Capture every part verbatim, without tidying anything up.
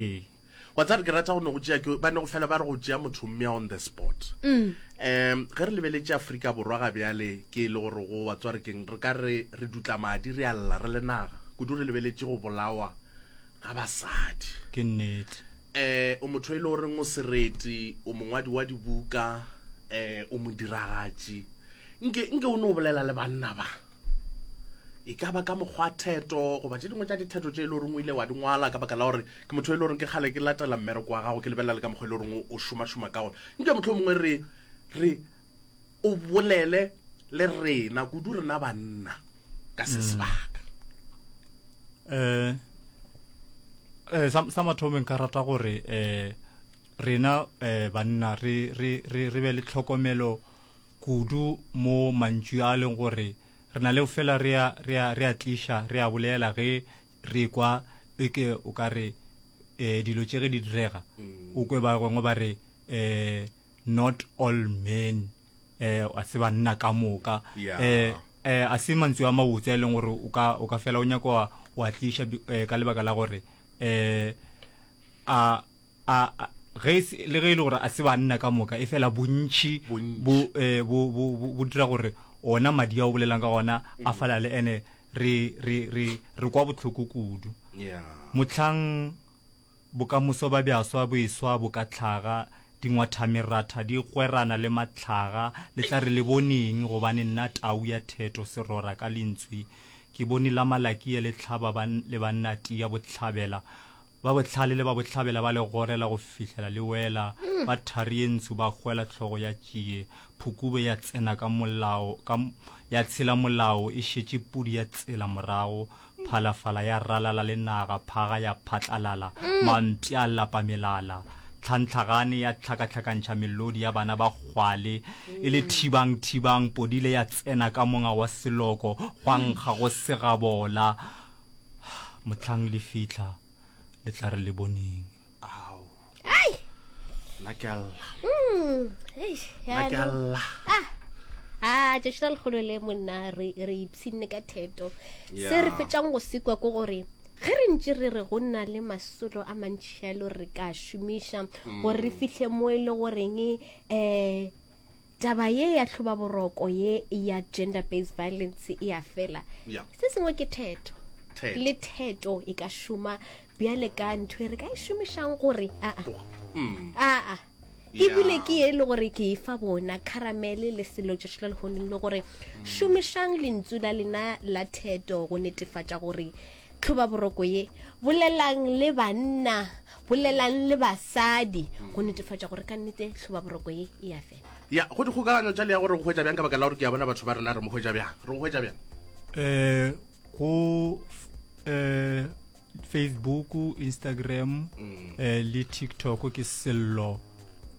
Ee. Wa tseba ke rata go no go tšea ke ba ne go fela ba re go tšea motho mmea on the spot. Um ge re lebeletše Afrika Borwa ga bjale ke e le gore go wa tswa re keng re ka re re dutla madi re a lla re le naga kudu re lebeletše go bolawa ga basadi. Ke nnete. Eh o motho e le goreng o sereti, o mongwadi wa dibuka, eh o modiragatši. Nke nke o no bolela le banna ba. E ka ba ka mokgwa theto goba tše dingwe tša ditheto tše e le goreng o ile wa di ngwala ka baka la gore ke motho e le goreng ke kgale ke latela mmereko wa gago ke lebelela le ka mokgwa e le goreng o šomašoma ka gona. Nke mohlomongwe mongwe re re o bolele le rena kudu rena banna ka se sebaka. Eh eh sa sa mathomo nka rata gore eh rena eh banna re re re re be le tlhokomelo kudu mo mantšu a leng gore re na le fela re a re a re a tliša re a bolela ge re kwa e ke o ka re eh dilo tše ge di direga o kwe ba gongwe ba re eh not all men eh a se banna ka moka. Yeah. Eh eh a se mantšu a mabotse a e leng gore o ka o ka fela o nyaka wa wa tliša eh, ka lebaka la gore eh a a a- ge se- le ge e le gore a se banna ka moka e fela bontši Bontši. bo eh, bo bo bo- bo dira gore ona madi a o bolelang ka gona a falale ene re re re re kwa bohloko kudu. Yeah. Mohlang bokamoso ba bjaswa bo eswa bo ka hlaga, dingwathameratha di gwerana le mahlaga, le tla re le boneng, gobane nna tau ya theto serora ka lentswe, ke bone la Malakia le hlaba ba, le banna tia bohlabela, ba bohlale le ba bohlabela ba le gorela go fihlela le wela, ba thari ye ntsho ba hwela hlogo ya tšie, phukube ya tsena ka molao, ka, ya tshela molao, e šetše pudi ya tsela morago, phalafala ya ralala le naga, phaga ya phatlalala, mampša a lapa melala, tlhantlhagane ya hlakahlakantšha melodi ya bana ba kgwale, e le thibang thibang, podile ya tsena ka monga wa seloko, gwa nkga go segabola. Mohlang le fihla, le tla re le boneng. Ao. Ai! Nna ke a lla. Mm, eish, Nna ke a jaanong. lla. Ah, ah, tšatši la lekgolo le monna re re ipshinne ka theto. Se re Yeah. fetšang go sekwa ke gore ge re ntše re re go na le masolo a mantši a e le gore re ka šomiša gore re fihle mo e le goreng um taba ye ya tlhobaboroko ye ya gender based violence e a fela. Yeah. Se sengwe ke theto. Theto. Le theto e ka šoma bjale ka ntho e re ka e šomišang gore aa Mm. aa ebile Yeah. ke ye e le gore ke e fa bona caramele le selo tšatši la lehono le gore šomišang lentšu la lena la theto go netefatša gore tlhobaboroko ye bolelang le banna bolelang le basadi go netefatša gore ka nnete tlhobaboroko ye e a fela. Ya, go dikgokaganyo tša le ya gore go hwetša bjang ka baka la gore ke a bona batho ba rena re mo hwetša bjang. Re go hwetša bjang? Eh go eh Facebook, Instagram eh le TikTok ke Sello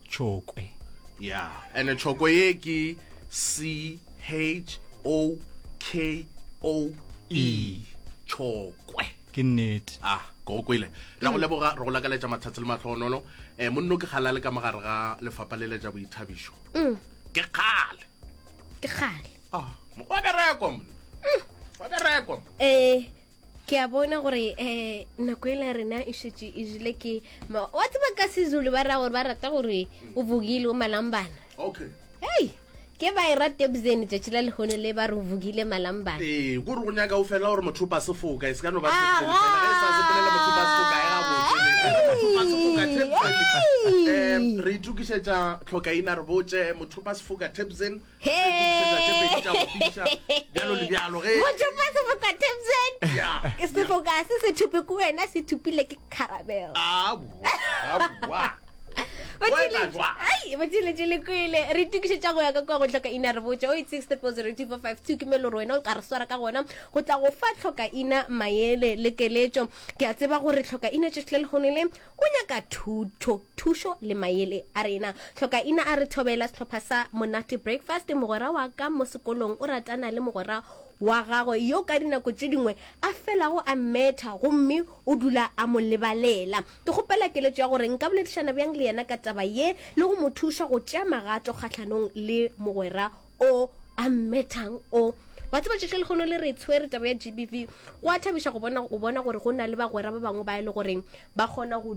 Chokwe. Yeah. And Chokwe ye ke C H O K O E. Chokwe. Ke nnete. Ah, ke go kwele. Re go leboga, re go lakaletša matsatsi le mahlogonolo. Eh monno ke kgale a le ka mogare ga lefapha le le tša boithabišo. Ke kgale. Ke kgale. Ah, wa bereko monna. Wa bereko. Eh ke a bona gore eh nako e la rena e šetše e jele ke ma- wa tseba ka Sezulu ba ra gore ba rata gore o vukile o malambana. Okay. Hei, ke ba e rate bzeni tšatši la lehono le ba re o vukile malambana. Ee, kore go nyaka o fela gore motho o pa sefoka, e se ka no ba Aga! Tebsene fela. Ge e sa sepelele motho o pa sefoka, e gabotse. Motho o pa sefoka, Tebsene. Hey! Eh, re itokišetša tlhokaina re botše motho o pa sefoka Tebsene. Hey! Re itokišetša tše pedi tša go fiša, bjalo le bjalo ge. Motho o pa sefoka Tebsene. Yeah. Sefoka se se thupe ke wena, se thupile ke Caramel. Aowa, aowa. Ai, batšeletše le kwele re itokišetša go ya ka kua go tlhoka ina re botše o eight six triple zero two four five two ke melo gore wena o ka re swara ka gona go tla go fa tlhoka ina maele le keletšo. Ke a tseba gore tlhoka ina tšatši le lehono le o nyaka thuto thušo le maele a rena. Tlhoka ina a re thobela sehlopha sa Monate Breakfast. Mogwera wa ka mo sekolong o ratana le mogwera wa gagwe yo ka dinako tše dingwe a felago a mmetha gomme o dula a mo lebalela. Ke kgopela keletšo ya gore nka boledišana bjang le yena ka taba ye le go mo thuša go tšea magato kgahlanong le mogwera o a mmethang o. Wa tseba tšatši le lehono le re tshwere taba ya G B V, go a thabiša go bona, go bona gore go na le bagwera ba bangwe ba e le goreng ba kgona go